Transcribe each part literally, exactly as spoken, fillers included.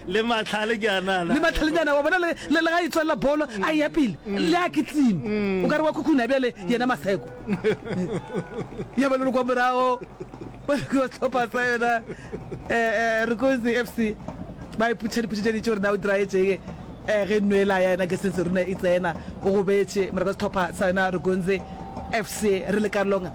Le mahlale ke a na Le mahlalenyana wa bona le le ga e tswelela bolo a ya pele le a kitima. O ka re wa khukhuna bjale yena Maseko. Ya ba le kwa morago ba sehlopha sa yona eh Rukunzi F C ba iputša diputša tše dintši gore na o diraetšeng eh ge nwela ya yena Gerson Seruna e tsena o gobetše morago sehlopha sa yona Rukunzi F C re le karolong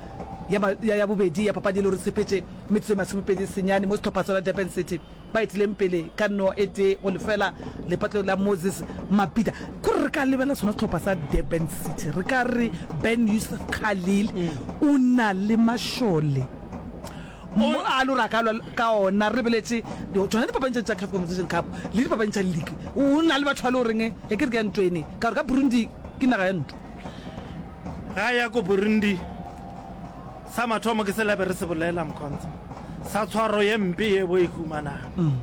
ya ya bobedi ya papadi e le gore sepetše metsotso e masomepedi senyane mo sehlopha sa Durban City ba etileng pele ka no e tee go lefela lepatlelo la Moses Mabhida. Kore re ka lebela sona sehlopha sa Durban City re ka re Ben Yusuf Khalil o na le mašole mo a le gore a ka lwa ka ona re lebeletše tšona dipapadi tša CAF Confederation Cup le dipapadi tša league o na le batho ba le goreng e ke re ke ya ntwene ka gore ka Burundi ke naga ya ntwa. Ga ya ko Burundi sa mathomo ke se labe re se bolela Mkhonza sa tshwaro ye mpe ye bo e humanang um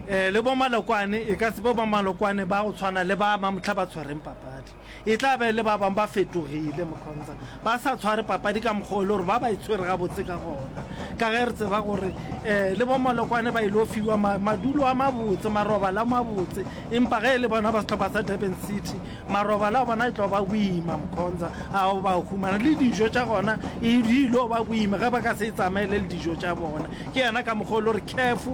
le bo malokwane e ka se be bo malokwane ba go tshwana le ba mamohla ba tshwereng papadi e tla be le ba bangwe ba fetogile Mkhonza ba sa tshware papadi ka mokgwa o le gore ba ba e tshwere gabotse ka gona ka ge re tseba gore um le bo malokwane ba ile fiwa madulo a mabotse marobalo a mabotse empa ge e le bona ba sehlopha sa Durban City marobalo a bona e tlo ba boima Mkhonza a ba humana le dijo tša gona e di ilo ba boima ge ba ka se e tsamaele le dijo tša bona ke yena ka mokgwa o le gore CAF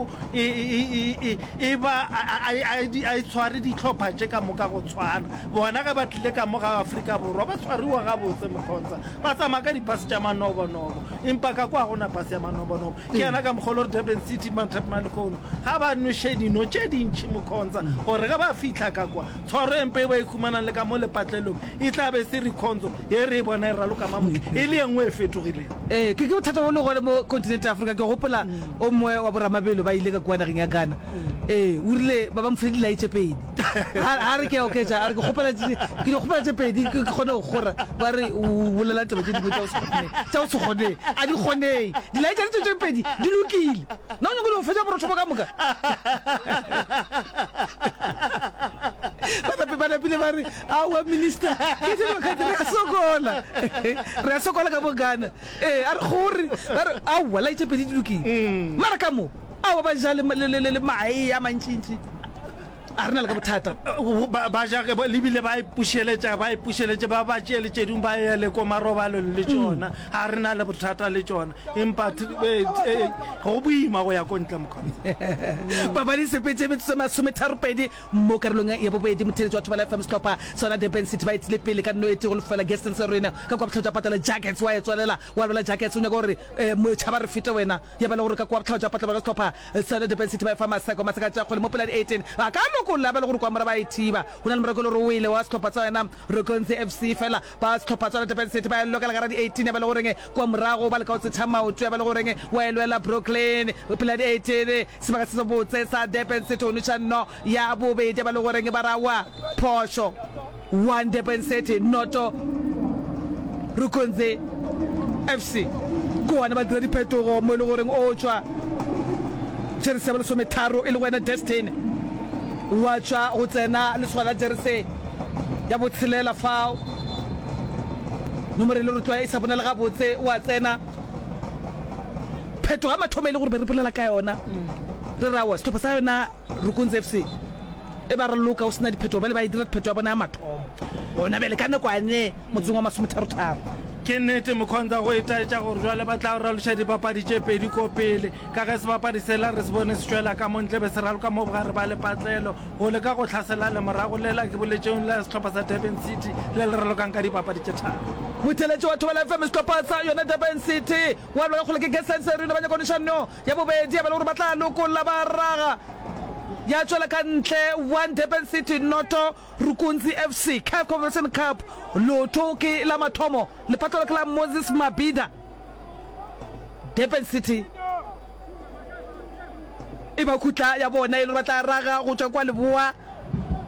e ba a e tshware dihlopha tše ka moka go tshwana bona ge ba tlile ka mo ga Afrika Borwa ba tshwariwa gabotse Mkhonza ba tsamaya ka dipase tša manobonobo empa ka kwa gona pase ya manobonobo ke yena ka mokgwa o le gore Durban City mathapma lehono ga ba nweše dino tše dintšhi Mkhonza gore ge ba fihla ka kwa tshwaro e mpe e ba e humanang le ka mo lepatlelong e tla be se rekhonzo ye re e bona e raloka mamotho e le engwe e fetogileng. Ee, ke ke bothata bo le gone mo continent ya Afrika. Ke gopola o mongwe wa boramabelo ba ile ka kua nageng ya Ghana. Ee, o rile ba ba mo file dilai tše pedi. A re ke a oketša, a re ke kgopela ke di kgopela tše pedi ke kgone go kgora. Ba re o bolela taba tše dingwe tša go se kgonege, tša go se kgonege. A di kgonege. Dilai tša tše tše pedi di lokile. Na o nyaka go fetša borotho bo ka moka? Ba nape ba napile ba re aowa minister ke dilo ka re a sokola re a sokola ka bo Ghana. Ee, a re gore ba re aowa lai tše pedi di lokile. Mara ka mo aowa ba ja le le le mae a mantšintši. A re na le ka bothata. Ba ja ge le bile ba ipušeletša ba ipušeletše ba ba tšee le tše dingwe ba ye le ko marobalong le tšona. Ga re na le bothata le tšona empa go boima go ya ko ntle Mkhonza. Papadi e sepetše metsotso e masometharopedi mo karolong ya bobedi. Motheeletši wa Thobela F M sehlopha sona Durban City ba etile pele ka nno e tee go lefela. Gaston Serena ka kua bohlabja patela Jackets wa e tswalela wa lwela Jackets o nyaka gore motšhaba re fete wena ya ba le gore ka kua bohlabja patela ba sehlopha sona Durban City ba e fa Maseko Maseka tša kgole mo pela di eighteen ba ka lokolla ba le gore kua mora ba e thiba go na le morako le gore o wele wa sehlopha sa yona Rukunzi F C fela ba sehlopha sa Durban City ba e lokela gara di eighteen ya ba le goreng kua morago ba leka go tsetšha maoto ya ba le goreng wa e lwela Brooklyn pela di eighteen sebaka se sebotse sa Durban City go nweša nno ya bobedi ya ba le goreng ba rawa phošo one Durban City noto Rukunzi F C ke gona ba dira diphetogo mo e le goreng o tšwa jeresi ya bolesometharo e le go wena Destiny wa tšwa go tsena lesogana la jeresi ya botshelela fao nomoro e le gore tloa e sa bonale gabotse wa tsena phetogo ya mathomo e le gore be re bolela ka yona re rawa sehlopha sa yona Rukunzi F C e ba raloka o sena diphetogo bjale ba e dira phetogo ya bona ya mathomo gona bjale ka nako ane motseng wa masometharotharo. Ke nnete Mkhonza go itaetša gore jwale ba tla raloša dipapadi tše pedi ko pele ka ge sebapadi sela re se bone se tšwela ka mo ntle be se raloka mo bogare ba lepatlelo go leka go hlasela lemorago lela ke boletšeng la sehlopha sa Durban City le le ralokang ka dipapadi tše tharo. Motheeletši wa Thobela F M sehlopha sa yona Durban City wa lwa ka kgole ke Gerson Serino ba nyaka no ya bobedi ya ba le gore ba tla lokolla ba raga ya tšwela ka ntle one Durban City noto Rukunzi F C CAF Confederation Cup lotho ke la mathomo lepatlelo ke la Moses Mabhida Durban City e ba khutla ya bona e le gore ba tla raga go tšwa kwa leboa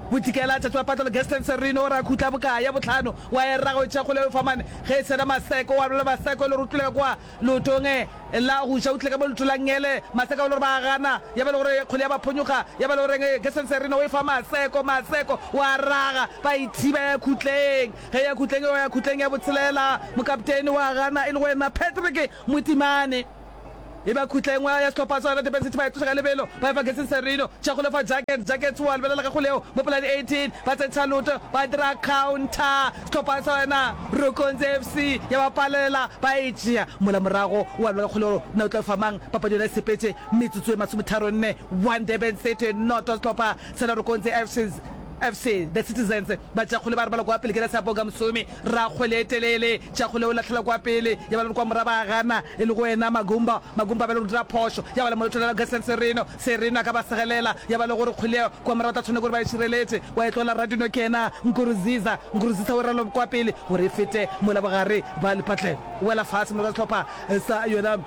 bodikela tšatši wa patlelo Gaston Serino ra khutla bokae ya bohlano wa e raga o tšea kgole o fa mane ge e sena Maseko wa bolela Maseko e le gore o tlile kwa leotong la go ja o tlile ka mo leoto la ngele Maseko e le gore ba gana ya ba le gore kgole ya ba phonyokga ya ba le goreng Gaston Serino o e fa Maseko Maseko wa raga ba e thiba ya khutleng ge ya khutleng ya khutleng ya botshelela mokaptene wa gana e le go wena Patrick Motimane E ba khutla e nngwe ya sehlopha sa Durban City ba e tloša ka lebelo ba efa Gerson Serino tša go lefa Jackets Jackets wa lebelela ka kgoleo mo pela di eighteen ba tsentšha loto ba dira counter sehlopha sa yona Rokonzi F C ya ba palela ba e tšea mola morago wa lebelela kgoleo na o tla fa mang papadi yona e sepetše metsotso e masometharo nne one Durban City noto sehlopha sa Rokonzi F C F C The Citizens ba tšea kgole ba robala kwa pele ke Lesabo ka Mosomi ra kgwele e telele tšea kgole o lahlela kwa pele ya ba le kwa mora ba gana e le go wena Magumba Magumba ba le go dira phošo ya ba le molotholela Gerson Sereno Sereno a ka ba segelela ya ba le gore kgwele kwa mora ba tla tshwanela gore ba e šireletše wa e tlola Radino ke yena Nkurunziza Nkurunziza o ralo kwa pele gore e fete mola bogare ba lepatlelo wela fase mola ka sehlopha sa yona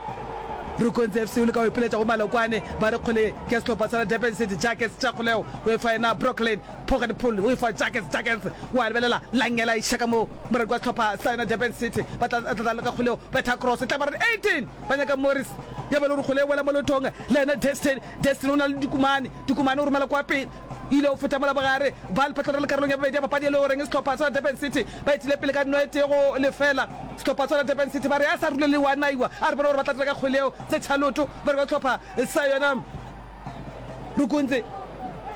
Rukonzi F C o leka go ipiletša go Malokwane ba re kgwele ke sehlopha sa Durban City Jackets tša kgolego o e fa yena Brooklyn Poggenpoel o e fa Jackets Jackets wa lebelela Langela iša ka mo moradi wa sehlopha sa yona Durban City ba tla tla leka kgoleo betha cross tla ba re eighteen ba nyaka Morris ya ba le gore kgole e wela mo lotong le yena Destin Destin o na le Dikumane Dikumane o romela kwa pele ile o feta mola bogare ba lephatlo le karolong ya bobedi ya papadi e le goreng sehlopha sa Durban City ba etile pele ka nno e tee go lefela sehlopha sa Durban City ba re a sa rule le wa naiwa a re bone gore ba tla dira ka kgwele yeo tse tšhaloto ba re ba sehlopha sa yona Rukunzi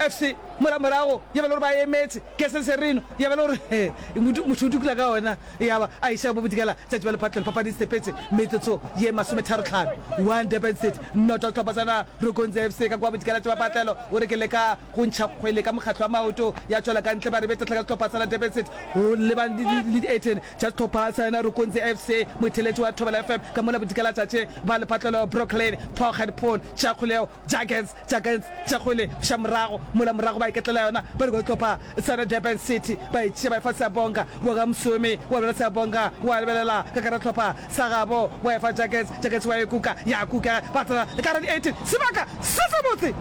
F C mola morago ya ba le gore ba emetše Gerson Serino ya ba le gore motho o dukula ka ona ya ba a iša bo bodikela tšatši ba lephatlelo papadi e sepetše metsotso ye masometharo tlhano one Durban City noto sehlopha sa Rukunzi F C ka kwa bodikela tša bapatlelo o re ke leka go ntšha kgwele ka mokgatlo wa maoto ya tšwela ka ntle ba re betahla ka sehlopha sa Durban City go lebane le di eighteen tša sehlopha sa yona Rukunzi F C motheletši wa Thobela F M ka mola bodikela tšatši ba lepatlelo Brooklyn Poggenpoel tša kgwele Jackets Jackets tša kgwele ša morago mola morago ba iketlela yona ba re sehlopha sa Durban City ba e tšea ba e fa Siyabonga wa ga Msomi wa bela Siyabonga wa lebelela ka gare sehlopha sa gabo wa e fa Jackets Jackets wa e kuka ya kuka ba tsena ka gare di eighteen sebaka se sebotse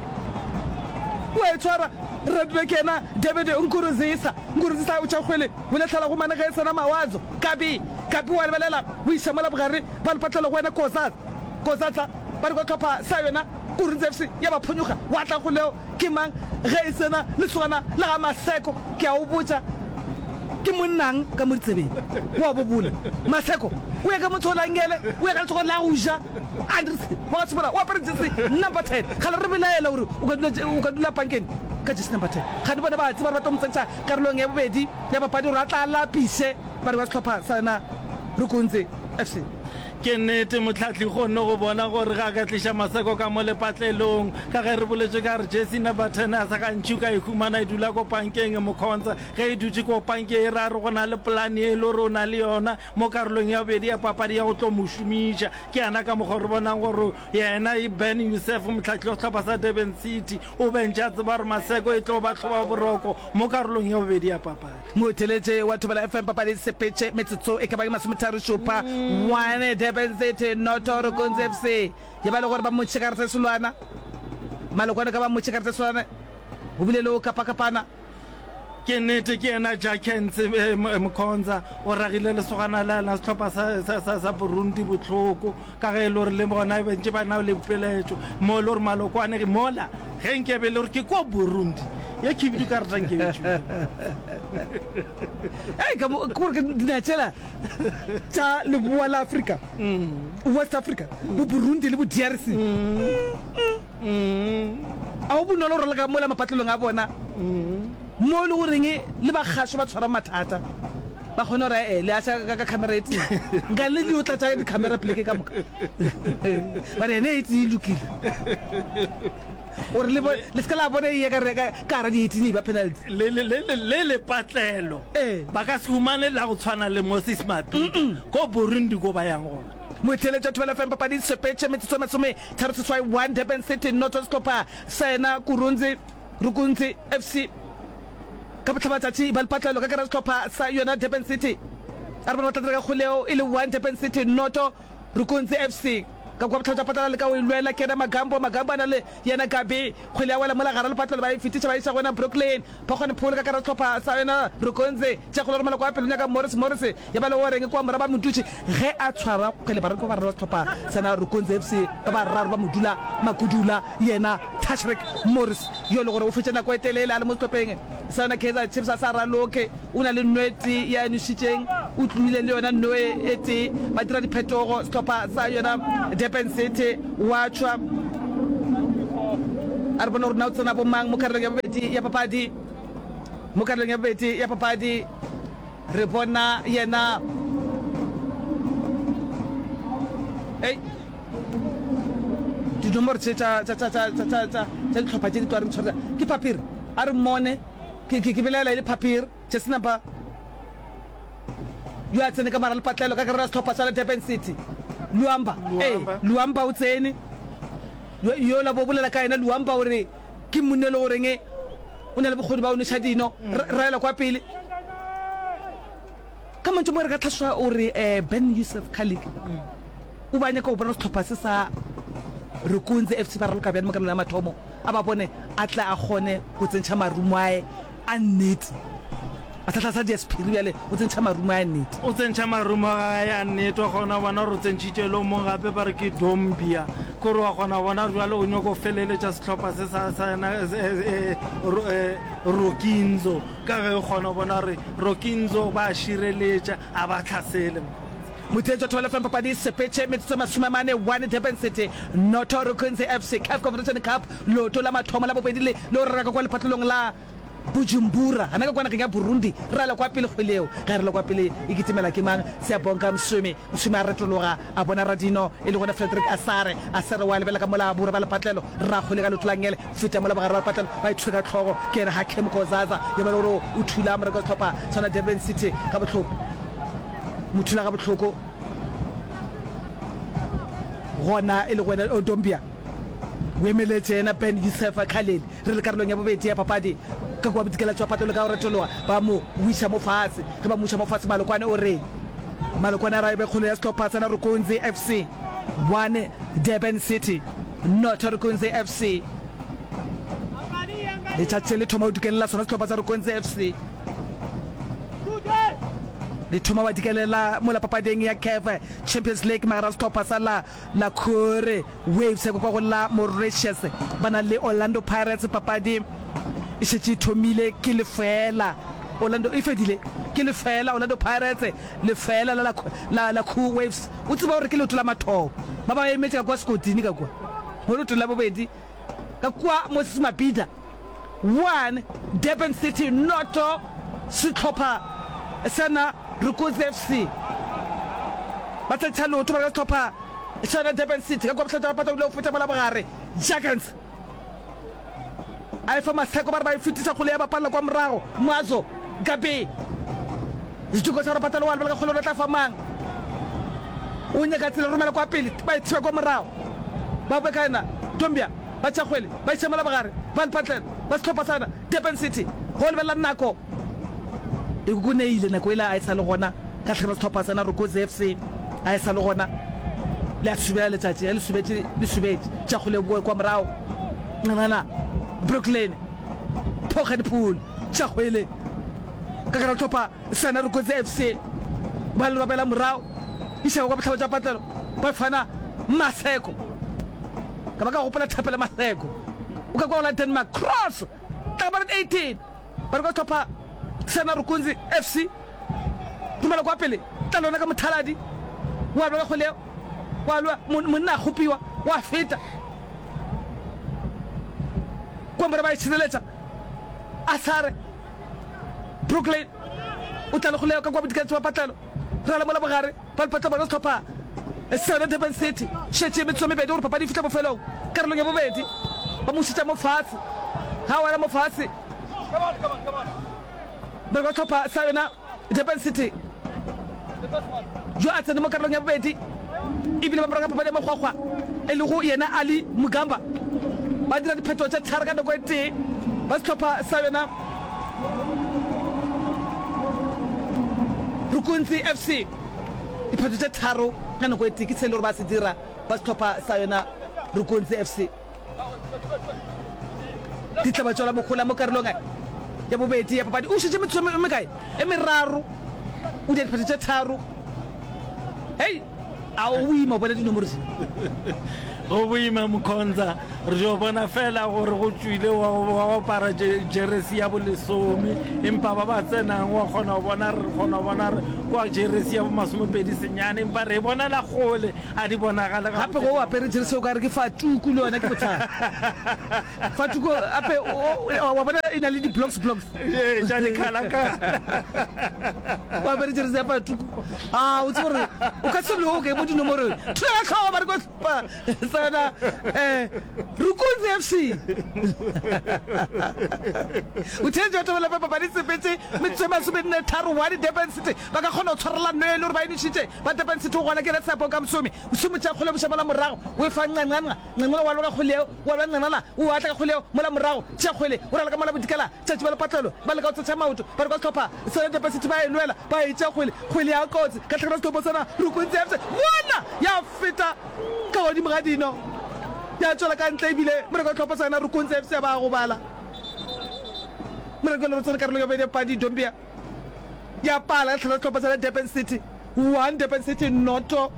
wa e tshwara Radube ke yena David Nkurunziza Nkurunziza o tšea kgwele o lahlela go mane ge e sena Mawazo Kabi Kabi wa lebelela o iša mola bogare ba lepatlelo go wena Kozatsa Kozatsa ba re kwa hlopha sa yona Kurunzi F C ya ba phonyokga wa tla go leo ke mang ge e sena lesogana la ga Maseko ke a o botša ke monnang ka mo ditsebeng wa bobola Maseko o ya ka motho o langele o ya ka letsogo la go ja Andries wa ga Tshobola o apere jersey number ten gale re belaela gore o ka dula o ka dula pankeng ka jersey number ten gane bona ba tseba gore ba tlo mo tsentšha karolong ya bobedi ya papadi gore a tla lapiše ba re ba sehlopha sa yona Rukunzi F C. Ke nnete, Mohlahli kgonne go bona gore ge a ka tliša Maseko ka mo lepatlelong, ka ge re boletše ka re jersey number ten a sa gantši o ka e humana e dula ko pankeng, Mkhonza ge e dutše ko pankeng e ra re go na le polane ye e le gore o na le yona mo karolong ya bobedi ya papadi ya go tlo mo šomiša. Ke yena ka mokgwa re bonang gore yena Ben Youssef, mohlahli wa sehlopha sa Durban City, o be ntše a tseba gore Maseko e tlo ba hlobaboroko mo karolong ya bobedi ya papadi. Motheeletši wa Thobela F M papadi e sepetše metsotso e ka ba masometharo šupa one Durban City noto Rukunzi F C ye ba le gore ba motšhe ka gare selwana Malokwane ka ba motšhe ka gare selwana go bile le go kapakapana. Ke nnete ke yena Jackens Mkhonza o ragile lesogana la la sehlopha sa, sa, sa, sa Burundi bohloko ka ge e le gore le bona be ntše ba na le peletšo mo e le gore Malokwane mola ge nke be e le gore ke ko Burundi ye khibidu ka rata nke be tšwile. Ei, ka mo ke gore ke dinaga tšela tša leboa la Afrika, West Africa, bo Burundi le bo D R C. A go bonolo go raloka mola mapatlelong a bona, mo e le goreng le bagašo ba tshwara mathata, ba kgone gore ee le aša ka camera e tee, nka le dio tlatša di-camera pleke ka moka, ba re ene e tee e lokile, gore le le se ka la bona e ya ka gare di-eighteen e ba penalty. Le le le le lepatlelo ba ka se humane la go tshwana le Moses Mabhida ko Burundi ko ba yang gona. Motheeletši wa Thobela F M papadi sepetše metsotso e masome tharo seswai one Durban City noto sehlopha sa yena Kurunzi Rukunzi F C ka bohlabatšatši ba lepatlelo ka gare sehlopha sa yona Durban City a re bona ba tla dira ka kgoleo e le one Durban City noto Rukunzi F C ka kwa bohlabja patala le ka o e lwela ke yena Magambo Magambo a na le yena Gabi kgwele ya wela mola gare lepatlelo ba e fetiša ba iša go yena Brooklyn Phokgwane Pholo ka gare sehlopha sa yona Rukunzi tša kgolo romela kwa pele nyaka Morris Morris ya ba le goreng kwa mora ba mo dutše ge a tshwara kgwele baraloki ba bararo ba sehlopha sa na Rukunzi F C ba bararo ba mo dula Makudula yena Tashreeq Morris yo le gore o fetše nako e telele a le mo sehlopheng sa yona Kaizer Chiefs a sa raloke o na le nwete ya nošitšeng O tlohile le yona nno e tee. Ba dira diphetogo sehlopha sa yona Durban City. Wa tšwa. A re bone gore na o tsena bomang mo karolong ya bobedi ya papadi. Mo karolong ya bobedi ya papadi re bona yena Ei. Dinomoro tše tša tša tša tša tša tša tša dihlopha tše di tloga re ntshwarela ke papier. A re mmone. Ke ke ke belaela e le papier. Jersey number yo a tsene ka mara lepatlelo ka gare ga sehlopha sa Durban City. Luamba. Ee, Luamba o tsene. Yo yola bo bolela ka yena Luamba o re ke monna e le goreng o na le bokgoni ba go nweša dino. Raela kwa pele. Ka mantšu a mangwe re ka tlhasoša o re Ben Youssef Khalik o be a nyaka go bona sehlopha se sa Rukunzi F C ba raloka bjang mo karolong ya mathomo, a ba bone a tle a kgone go tsentšha marumo ae a nnete. A sa hlasa dia sephiri bjale o tsentšha marumo ae a nnete. O tsentšha marumo a gae a nnete, wa kgona go bona gore o tsentšhitše le o mongwe gape ba re ke Dombia. Kore wa kgona go bona gore bjale o nyoko feleletša sehlopha se sa sa yena Rukinzo. Ka ge o kgona go bona gore Rokinzo ba a šireletša, a ba hlasele. Motheetši wa Thobela F M Papadi sepetše metsotso e masome a mane one Durban City noto Rukunzi F C Caf Confederation Cup leoto la mathomo la bobedi le le o rera ka kwa lepatlelong la Bujumbura gana ka kwa nageng ya Burundi re ala kwa pele kgwele yeo ge re le kwa pele e kitimela ke mang Siyabonga Mswimi Mswimi a retologa a bona Radino e le gona Frederick Asare Asare wa lebelela ka mola borwa ba lepatlelo Rakgwele ka leoto la ngele Feta mola bogare ba lepatlelo ba ithwe ka hlogo ke yena Hakim Kozaza yo ba le gore o thula moreko wa sehlopha sona Durban City ga bohloko. Mo thula ga bohloko gona e le go wena Odombia. O emeletše yena Ben Youssef Khalil re le karolong ya bobedi ya papadi ka kua bodikela tšwa patlelo ka go retologa ba mo wiša mo fase. Ge ba mo wiša mo fase Malokwane o re Malokwane a ra e be kgolo ya sehlopha sa Narukunzi F C one Durban City not Rukunzi F C. Letšatši le thoma go dukelela sona sehlopha sa Rukunzi F C. Le thoma wa dikelela mola papading ya CAF Champions League magare ga sehlopha sa la La Cour Waves ya kwa go la Mauritius ba na le Orlando Pirates. Papadi e šetše e thomile ke lefeela Orlando e fedile ke lefeela Orlando Pirates lefeela la la la Cool Waves. O tseba gore ke leoto la mathomo ba ba emetše ka kua sekoting ka kua mo leotong la bobedi ka kua Moses Mabhida one Durban City noto sehlopha sa na Rukuzi F C ba tsentšha leoto ba ka sehlopha sa na Durban City ka kua bohlatša ba pata o ile go feta mola bogare Jurgens A efa Maseko ba re ba e fetiša kgole ya bapalela kwa morago. Moazo, Gabi. Setoko sa Rapatalo wa lebala ka kgole o tla fa mang. O nyaka tsela romela kwa pele ba e thiba kwa morago. Ba bekana Dombia ba tšea kgwele ba iša mola bogare ba lepatlela ba sehlopha sa Durban City go lebelela nako e kokoneile nako ela a e sa le gona ka tlhagela sehlopha sa Narokozi F C a e sa le gona le a subela letšatši ge le subetše le subetše tšea kgwele e boe kwa morago Ngwana Brooklyn, Phogadipul, Tšakgwele, ka gare ga hlopha sa Narokotsi F C ba le robela morago išago kwa bohlaba tša patlelo ba fana Maseko ka ba ka gopola Thapelo Maseko o ka kwa go la Denmark cross tla ka eighteen ba re kwa hlopha sa Narukunzi F C romela kwa pele tla lona ka mothaladi wa lwa ka kgwele wa lwa monna a kgopiwa wa feta Kwambora ba e šireletša. Asare Brooklyn o tla le kgolego ka kwa bodikela bja patlelo. Rala mola bogare ba lepatla bona sehlopha sa yona Durban City. Šetše metsotso e mebedi gore papadi e fihle bofelong. Karolong ya bobedi ba mo šetša mo fase. Ga a wela mo fase ba kwa sehlopha sa yona Durban City yo a tsene mo karolong ya bobedi ebile ba morago papadi ya makgwakgwa e lego yena Ali Mugamba ba dira diphetogo tše tharo ka nako e tee ba sehlopha sa yona Rukuntsi F C diphetho tše tharo ka nako e tee ke se e le gore ba se dira ba sehlopha sa yona Rukuntsi F C. Di tla ba tšwela mohola mo karolong ya bobedi ya papadi. O šetše metsotso e mekae? E meraro. O dira diphetho tše tharo. Hei, a o boima bona dinomoro tše? Go boima Mkhonza. Re dio bona fela gore go tšwile wa wa go apara jeresi ya bolesome, empa ba ba tsenang wa kgona go bona, re kgona go bona re kwa jeresi ya bomasomepedi senyane, empa re e bonela kgole, a di bonagale Gape gabotse. ge o apere jeresi o ka re ke fatuku, le yona ke bothata. Fatuku gape wa bona e na le di-blocks blocks. Ee, tša dikhalakhala. O apere jeresi ya fatuku, a o tsebe gore o ka se loke mo dinomorong. Thula ka hlogo ba re ko hlopha sa yona um Rukunzi F C. O theetše batho ba lefa papadi sepetse metsotso e masomenne tharo one Durban City ba ka kgona go tshwarela nno e le gore ba e nošitše ba Durban City go gona ke Letshepo ka Mosomi Mosomi tša kgole boša mola morago o e fa Ncancanca Ncancanca wa loka kgole yeo wa lwa Ncancanca o atla ka kgole yeo mola morago tšea kgwele o rala ka mola bodikela tšatši ba lepatlelo ba leka go tsetša maoto ba re kwa sehlopha sona Durban City ba e lwela ba e tšea kgwele kgwele ya kotsi ka tlhakana sehlopha sona Rukunzi F C bona ya feta ka godimo ga dino ya tšwela ka ntle ebile moreko wa sehlopha sa yona Rukunzi F C ya ba gobala. Moreko le re tsene karolong ya bobedi ya papadi Dombia ya pala ka tlhela sehlopha sa yona Durban City one Durban City noto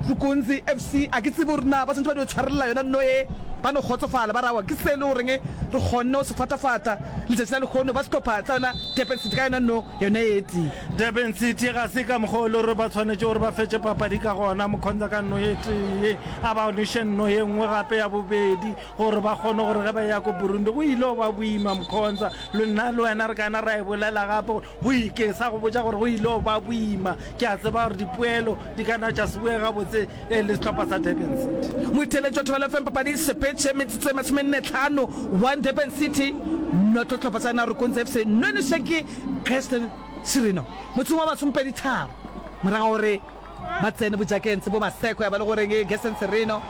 Rukunzi F C. A ke tsebe gore na ba swanetše ba dio tshwarelela yona nno ye ba no kgotsofala ba re aowa ke se e le goreng re kgonne go se fatafata letšatši la lehono ba sehlopha sa yona Durban City ka yona nno yona e tee. Durban City ga se ka mokgwa o le gore ba swanetše gore ba fetše papadi ka gona, Mkhonza ka nno e tee, a ba noše nno ye nngwe gape ya bobedi gore ba kgone gore ge ba eya ko Burundi go ile go ba boima. Mkhonza, le nna le wena re ka na ra e bolela gape gore go ke sa go botša gore go ile go ba boima. Ke a tseba gore dipoelo di ka na tša se boe gabotse le sehlopha sa Durban City. Motheeletši wa Thobela F M papadi sepetše metsotso e masomenne tlhano one Durban City noto hlopha sa Narukunzi F C nonešwe ke Gaston Sirino motsong wa masomepedi tharo morago ga gore ba tsene bojakeng bo Maseko ya ba le goreng Gaston Sirino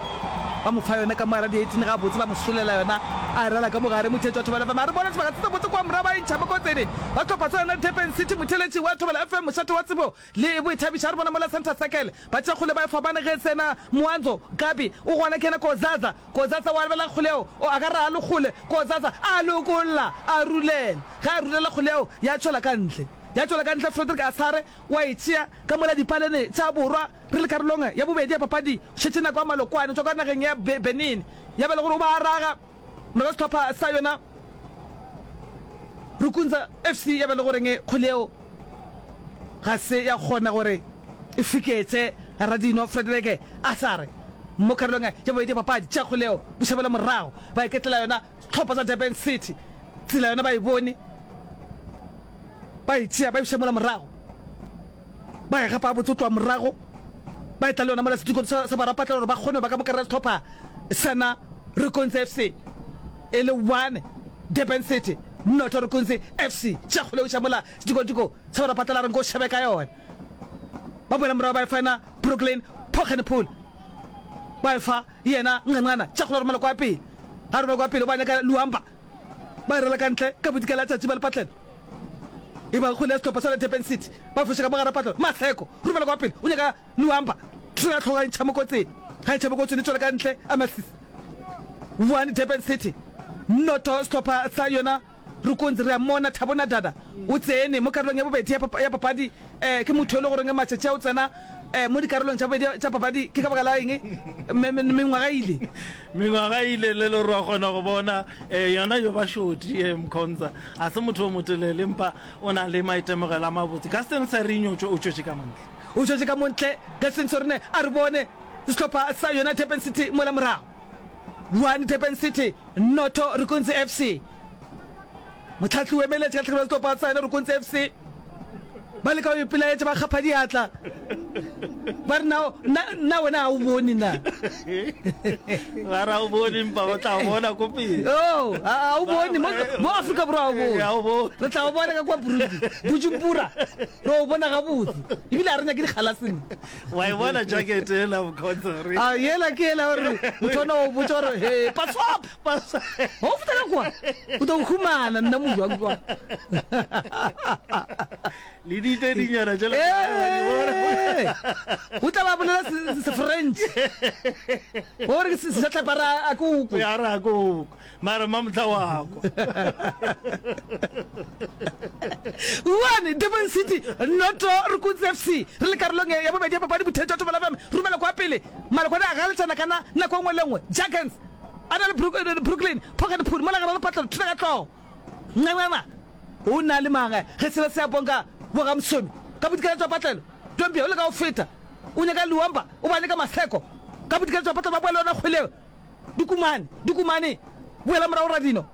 ba mo fa yona ka mogare di eighteen gabotse ba mo solela yona a e rala ka mogare. Motheeletši wa Thobela F M a re bona sebaka se sebotse kwa morago ba e ntšha mo kotseng ba hlopha sa yona Durban City. Motheeletši wa Thobela F M mošate wa tsebo le boithabišo a re bona mola Center Circle ba tšea kgole ba e fapane ge tsena Mwanzo Gabi o gona ke yena Kozaza Kozaza wa lebela kgole yeo o a ka raga le kgole Kozaza a lokolla a rulela ge a rulela kgole yeo ya tšwela ka ntle ya tšwela ka ntle Frederick Asare wa e tšea ka mola dipalene tša borwa re le karolong ya bobedi ya papadi šetše nako ya malokwane tšwa ka nageng ya Benin ya ba le gore o ba raga morago sehlopha sa yona Rukunza F C ya ba le goreng kgole yeo ga se ya kgona gore e fiketše Radino Frederike Asare mo karolong ya bobedi ya papadi. Tša kgole yeo bošabela morago ba iketlela yona sehlopha sa Durban City. Tsela yona ba e bone, ba e tšea ba e buša mola morago, ba e gapa gabotse go tloga morago ba etla le yona mola sedikong sa sa barapatla gore ba kgone go ba ka mo kare sehlopha sana Rukunzi F C e le one Durban City noto Rukunzi F C. Tša kgole o mola sedikotiko sa barapatla la re nko šebe ka yona. Ba boela morago ba e fa yena Brooklyn Poggenpoel, ba e fa yena Nqanqana. Tša kgole romela kwa pele, ga romela kwa pele o ba nyaka Luamba, ba e rela ka ntle ka bodikela tšatši ba lepatlela. E ba kgwele ya sehlopha sa Durban City, ba foša ka mogara patlelo. Maseko romela kwa pele o nyaka Luamba, thuto ya hlogo ga e ntšha mo kotsing, ga e ntšha mo kotsing e tšwela ka ntle a Masisi. One Durban City noto sehlopha sa yona Rukunzi. Re a mmona Thabo Nadada o tsene mo karolong ya bobedi ya papadi. Um ke motho e le goreng matšatši a o tsena um mo dikarolong tša bobedi tša papadi ke ka baka la eng mengwaga ile mengwaga ile le le re wa kgona go bona um yona yo ba shoti um Mkhonza a se motho o motelele empa o na le maitemogelo a mabotse. Gaston Serinho o tšwetše ka montle, o tšwetše ka montle Gaston Serine. A re bone sehlopha sa yona Durban City mola morago one Durban City noto Rukunzi F C. Motlhahli o emeletše ka tlhakelo ya sehlopha sa yona Rukunzi F C. Ba leka go ipelaetša ba kgapha diatla ba re na na wena ga o bone na ba ra o bone mpa o tla bona ko pele oh ga o bone mo mo Afrika Borwa ga o bone re tla o bona ka kwa Burundi Bujumbura re o bona gabotse ebile a re nyake dikgalaseng wa e bona jacket ela Mkhonza re a yela ke yela gore motho ona o botsa gore he paswap o feta ka kwa o tlo humana nna mojwang kwa le dite dinyana tšela o tla ba bolela se-French gore ke setlhapa ra a koko ya ra koko mara mamotla wa kwa one Durban City noto Rukunzi F C re le karolong ya bobedi ya papadi. Botheetši wa Thobela F M romela kwa pele malokwane a galetšana kana nako e nngwe le nngwe. Jackens A na le eh, Brooklyn, Pocket Pool, mola gare lepatlelo, thula ka hlogo. Ncanana, o na le mang ge sela se a bonka bo ga Msomi ka bodikela jwa patlelo. Dombia o leka go feta, o nyaka Luamba, o ba nyaka Maseko ka bodikela jwa patlelo, ba boela yona kgwele yeo. Dikumane, Dikumane, boela morago Radino.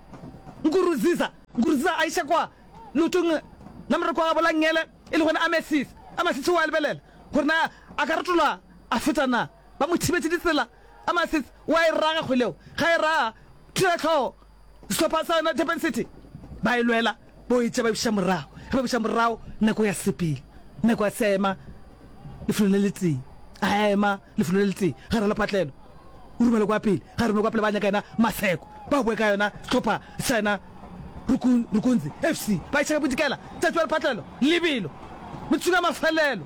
Nkuruziza, Nkuruziza a iša kwa leotong la moreko wa gabo la nngele, e lego yena Amasisi. Amasisi o a lebelela gore na a ka retola a feta na. Ba mo thibetše ditsela. Amasisi o a e raga kgwele yeo. Ga e raga, thula hlogo. Sehlopha sa yona Durban City ba e lwela, bo e tšea ba e buša morago. Ge ba buša morago, nako ya sepele. Nako ya se ema lefelong le letee. A ema lefelong le letee gare ga lepatlelo. O romela kwa pele, ga romela kwa pele ba nyaka yena Maseko. Ba boe ka yona sehlopha sa yena Rukunzi F C. Ba iša ka bodikela, tšatši wa lepatlelo, lebelo. Metsotsong ya mafelelo,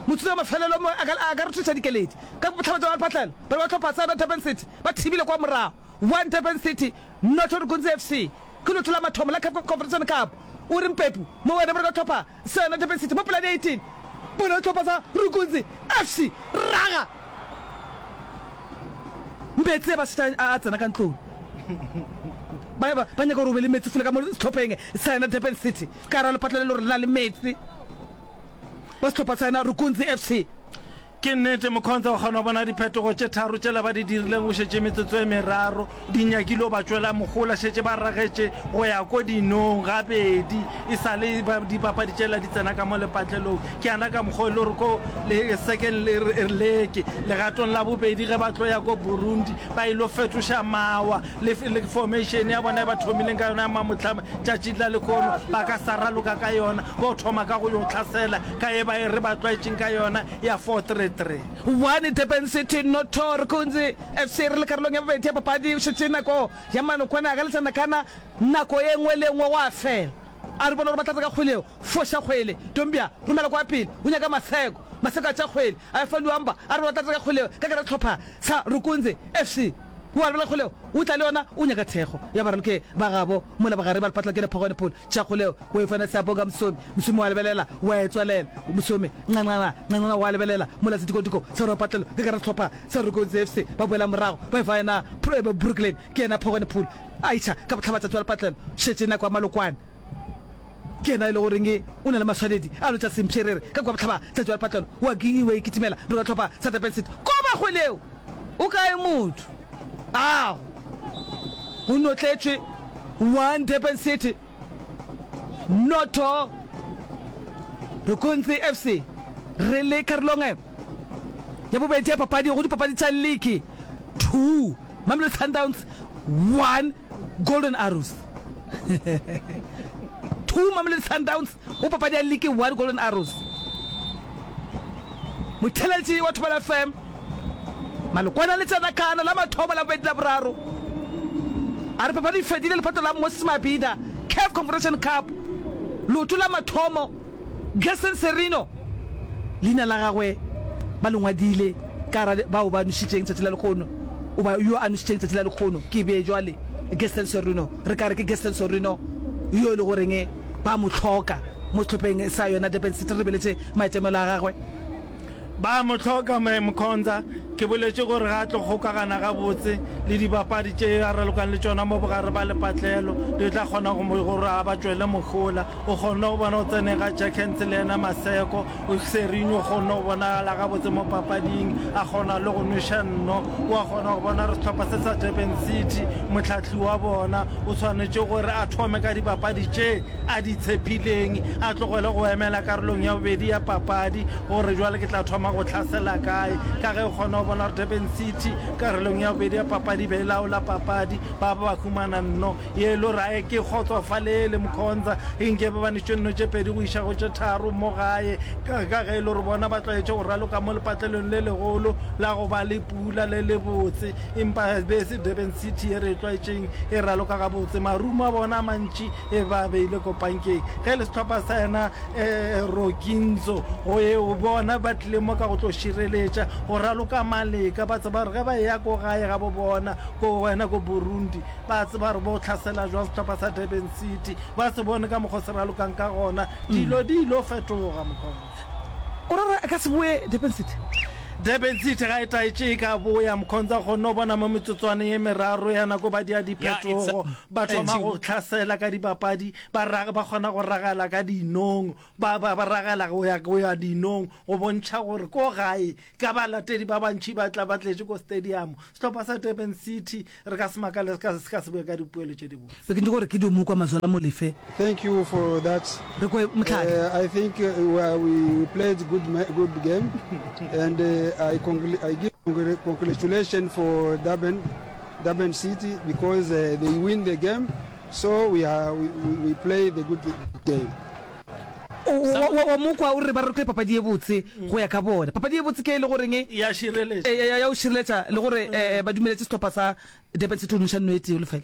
metsotsong ya mafelelo mo a ka, a ka rothiša dikeledi. Ka bohlaba tša lepatlelo, bana ba sehlopha sa yona Durban City ba thibile kwa morago. One Durban City, noto Rukunzi F C. Ke leoto la mathomo la CAF Confederation Cup. O re Mpepu mo wena bana ba sehlopha sa yona Durban City mo pela di eighteen. Bona sehlopha sa Rukunzi F C raga. Meetse ba šetša a tsena ka ntlong. Ba ba ba nyaka gore o be le meetse fula ka mo sehlopheng sa yena Durban City. Ka ra lepatla le le gore le na le meetse. Ba sehlopha sa yena Rukunzi F C. Ke nnete, Mkhonza o kgona go bona diphetogo tše tharo tšela ba di dirileng go šetše metsotso e meraro di nyakile go ba tšwela mohola. Šetše ba ragetše go ya ko dinong gabedi e sa le dipapadi tšela di tsena ka mo lepatlelong. Ke yana ka mokgwa o e le gore ko le second leke legatong la bobedi ge ba tlo ya ko Burundi ba ilo fetoša mawa le, le formation ya bona e ba thomileng ka yona ya mamohlama tšatši la lehono ba ka sa raloka ka yona, bo thoma ka go yo hlasela ka e ba e re ba tlwaetšeng ka yona ya four three three. One Durban City noto Rukunzi F C re le karolong ya bobedi ya papadi o šetše nako ya manokwane a ka letsanakana nako ye nngwe le ye nngwe gwa fela. A re bona gore ba tlatsa ka kgwele yeo. Foša kgwele. Dombia, romela kwa pele. O nyaka Maseko. Maseko a tšea kgwele. A e fa Luamba. A re ba tlatsa ka kgwele yeo ka gare ga sehlopha sa Rukunzi F C. O a lebela kgwele yeo. O tla le yona. O nyaka thekgo ya baraloki ba gabo mola bogare ba lepatla ke Lephogwane Pool. Tšea kgwele yeo. O e fa Siyabonga Msomi. Msomi o a lebelela. O a e tswalela. Msomi, ncanana, ncanana, o a lebelela mola sedikodiko sa Ropatlelo ka gare ga sehlopha sa Rukunzi F C. Ba boela morago. Ba e fa yena Brooklyn. Ke yena Phogwane Pool. A iša ka bohlabatšatši wa lepatlelo, šetše nako ya malokwane. Ke yena e le goreng o na le maswanedi a lotša sempherere ka kua bohlabatšatši wa lepatlelo. O a o a ikitimela bjalo ka hlopha sa Durban City. Koba kgwele eo! O kae motho? Ago! Go notletšwe one Durban City noto Rukunzi F C. Re le karolong ya bobedi ya papadi go dipapadi tša liki two. Mamelodi Sundowns one, Golden Arrows two. Mamelodi Sundowns go papadi ya liki one, Golden Arrows. Motheeletši wa Thobela F M, Malokwana le Tsenakana la mathomo la bobedi la boraro. A re papadi e fedile lephato la Moses Mabhida CAF Confederation Cup leoto la mathomo. Gerson Serino, leina la gagwe ba le ngwadile ka gara bao ba nošitšeng tšatši la lekgono, goba yo a nošitšeng tšatši la lekgono, ke bee jwale, Gerson Serino, re ka re ke Gerson Serino yo e le goreng ba mo hloka mo sehlopheng sa yona Durban City, re lebeletše maitemelo a gagwe. Ba mo hloka, Mme Mkhonza. Ke boletše gore ga a tlo kgokagana gabotse le dibapadi tše a ralokang le tšona mo bogare ba lepatlelo, di tla kgona go mo gore a ba tšwele mohola. O kgonne go bona go tseneng ga Jackens le yena Maseko, Serinho o kgonne go bonagala gabotse mo papading, a kgona le go nweša nno. O a kgona go bona gore sehlopha se sa Durban City, mohlahli wa bona o swanetše gore a thome ka dibapadi tše a di tshepileng, a tlogele go emela karolong ya bobedi ya papadi gore bjale ke tla thoma go hlasela kae, ka ge o kgona go bona gore Durban City karolong ya bobedi ya papadi be e laola papadi, ba ba ba humana nno ye e le gore a ke kgotsofalele Mkhonza, nke ba ba nešitše nno tše pedi go iša go tše tharo mo gae, ka ge e le gore bona ba tlwaetše go raloka mo lepatlelong le legolo la go ba le pula le lebotse, empa be e se Durban City ye re e tlwaetšeng e raloka gabotse, marumo a bona a mantši E ba beile ko pankeng. Ge e le sehlopha sa yena Roginzo, go eo bona ba tlile mo ka go tlo šireletša, go raloka maleka. Ba tseba gore ge ba eya ko gae ga bo bona, ko wena ko Burundi, ba tseba gore bo hlasela jwang sehlopha sa Durban City. Ba se bone ka mokgwa o se ralokang ka gona. Dilo di ilo fetoga, Mkhonza. O ra gore a ka se boe Durban City? Durban City ga e taetše e ka boya Mkhonza kgonne go bona mo metsotswaneng ye meraro ya nako ba dia diphetogo ba thoma go hlasela ka dibapadi ba ra ba kgona go ragela ka dinong ba ba ba ragela go ya go ya dinong go bontšha gore ko gae ka balatedi ba bantši ba tla ba tletše ko stadium sehlopha sa Durban City re ka se makale se ka se ka se boe ka dipoelo tše dibotse. Be ke nyaka gore ke dio mo kwa Mazola Molefe. Thank you for that. Re kwe Mohlake. Uh, I think uh, we, we played good good game and uh, I, I give congratulations for Durban, Durban City because uh, they win the game. So we are we, we play the good game. Wa mokwa o re ba rokile papadi ye botse go ya ka bona. Papadi ye botse ke e le goreng ya šireletša ya o šireletša le gore ba dumeletše sehlopha sa Durban City go noša nno e tee lefela.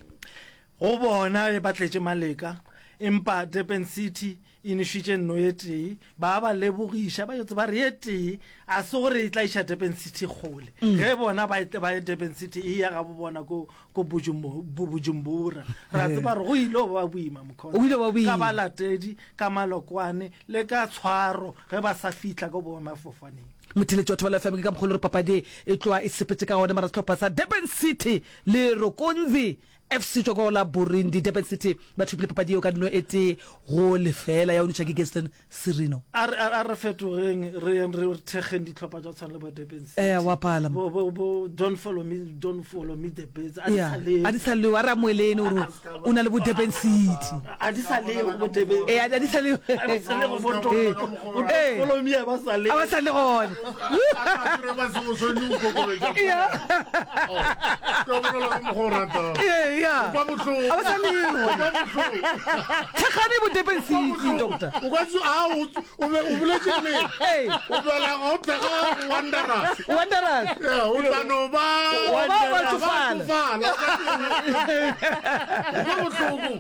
Go bona ba tletše maleka empa Durban City e nošitše nno e tee ba ba lebogiša ba yotse ba re e tee a se gore e tla iša Durban City kgole ge bona ba ba Durban City e ya ga bo bona ko ko Bujumbura ra tseba re go ile ba boima mokhono ka balatedi ka malokwane le ka tshwaro ge ba sa fihla ko boemafofaneng. Motheletši wa Thobela F M ke ka mokgwa le gore papadi e tloa e sepetše ka gona mara sehlopha sa Durban City le Rokonzi F C tšwa ko la Burundi. Durban City ba thopile papadi yeo ka dino e tee go lefela ya go noša ke Gaston Sirino. A re a re fetogeng re yeng re thekgeng dihlopha tša tshwana le bo Durban City. Ee, wa pala. Bo bo bo don't follow me don't follow me the birds. A di sa leo. A di sa leo a re amoelene gore o na le bo Durban City. A di sa leo bo Durban. Ee, a di sa leo. A di sa leo bo don't follow me a ba sa leo. A ba sa le gona. Yeah. Yeah. A ba sa leo. Thekgane bo Durban City doctor. O ka tso a o o be o boletše nnete. O bela go thekga Wanderers. Wanderers. Yeah, o tla no ba ba ba tsofala. Ba bohloko.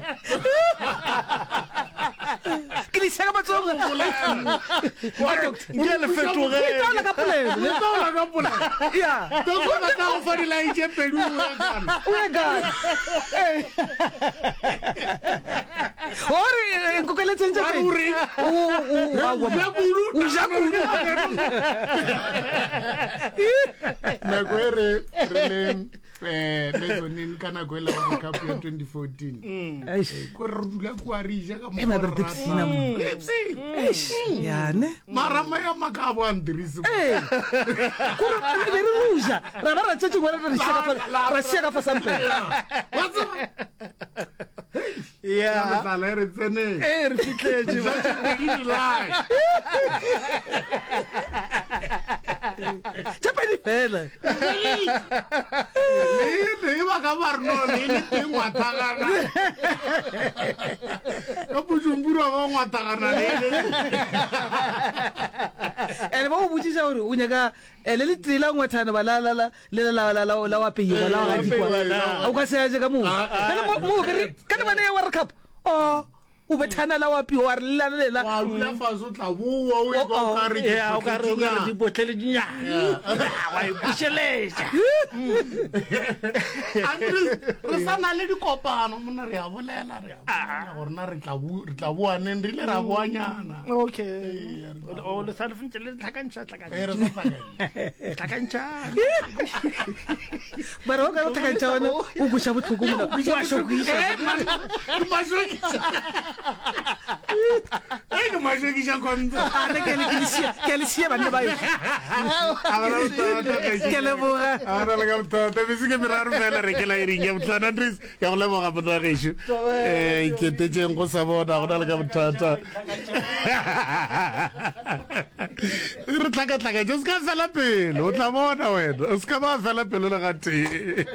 Ke di shaka matsogo. Nke le fetoge. O itaola ka polelo. O itaola ka polelo. Yeah. Doctor ba tla go fa dilae tše pedi o ye Ghana. O ye Ghana. Gore nkokeletseng tše pedi. O o ja kudu. O ja kudu. Nako e re re le eh mezzanine ka nako e la World Cup ya twenty fourteen. Ko re dula kwa re ja ka mo. Ya ne. Mara maya makabo a ndirisi. Eh. Ko re be re ruja. Ra ba ra tšetše bona re shaka fa ra shaka fa sampe. Wa tseba. Yeah. Tlala re tsene. Eh re fitletše. Tše pedi fela. Le le ba ka ba re no le le teng ngwathagana. Ka Bujumbura ba ngwathagana le le. Ene ba go botšiša gore o nyaka le le tee la ngwathana ba la la la le la la la la wa peiwa la wa gadikwa. O ka se aje ka moo. Bjale mo mo be re ka lebane ya World Cup. Oh. O bethana la wa piwa wa re lela lela. Wa dula fase o tla boa o ekwa o ka re ke o ka re o ka re dibotlele dinyane. Wa e bušeletša. Andres re sa na le dikopano monna re a bolela re a bolela gore na re tla re tla boa neng re ile ra boanyana. Okay. O le sa le ntse le tlhakantšha tlhakantšha. Eh re sa tlhakantšha. Tlhakantšha. Mara o ka re tlhakantšha ona o kweša bohloko mona. O a šokiša. Ke mašokiša. Ei ke mašokiša konto. A re ke le ke le šia ke le šia banna ba yo. Ke leboga. A re le ka bothata bese ke meraro fela re ke la iring ya botlhano Andres ya go leboga monna gešo. Eh ke tetšeng go sa bona go na le ka bothata. Re tlhakatlhakantše o se ka fela pelo o tla bona wena o se ka ba fela pelo le gatee.